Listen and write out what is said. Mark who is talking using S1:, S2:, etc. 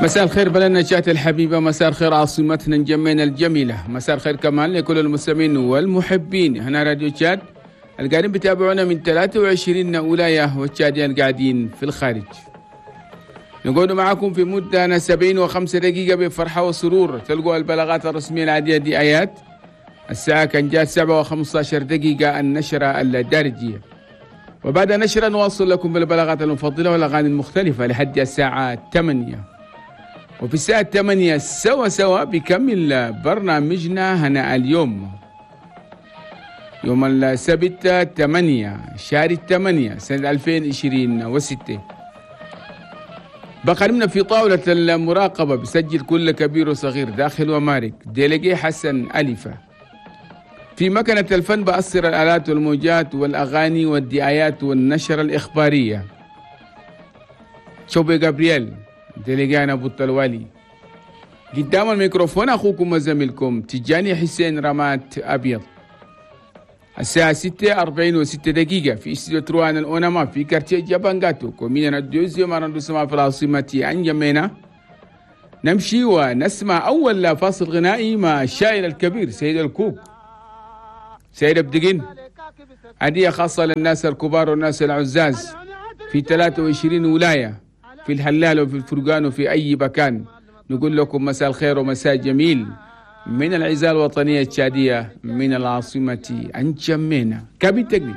S1: مساء الخير بلدنا تشاد الحبيبة، مساء الخير عاصمتنا نجمينا الجميلة، مساء الخير كمان لكل المستمعين والمحبين هنا راديو تشاد القاعدين بتابعونا من 23 ولاية والتشاديين قاعدين في الخارج. نقول معكم في مدة 75 دقيقة بفرحة وسرور. تلقوا البلاغات الرسمية العادية دي آيات الساعة كان جات 7:15 النشرة الدارجية، وبعد نشرة نواصل لكم بالبلاغات المفضلة والأغاني المختلفة لحد الساعة 8. وفي الساعة 8 سوا سوا بكمل برنامجنا هنا اليوم، يوم السبت 8 شهر 8 سنة 2026. بقرمنا في طاولة المراقبة بسجل كل كبير وصغير داخل ومارك délégué حسن ألفة. في مكنة الفن بأثر الآلات والموجات والأغاني والدعايات والنشرة الإخبارية شوبي جابرييل délégué أبو التلوالي. قدام الميكروفون أخوكم وزميلكم تجاني حسين رمات أبيض. الساعة 6:46 في استوديو تروان الأونما في quartier جابانغاتو commune deuxième arrondissement في العاصمة أنجمينا. نمشي ونسمع أول فاصل غنائي مع الشاعر الكبير سيد الكوك سيد أبدقين، هدية خاصة للناس الكبار والناس العزاز في 23 ولاية، في الهلال وفي الفرقان وفي أي مكان. نقول لكم مساء الخير ومساء جميل من العزال الوطنية التشادية من العاصمة أنجمينا. كابي تقني.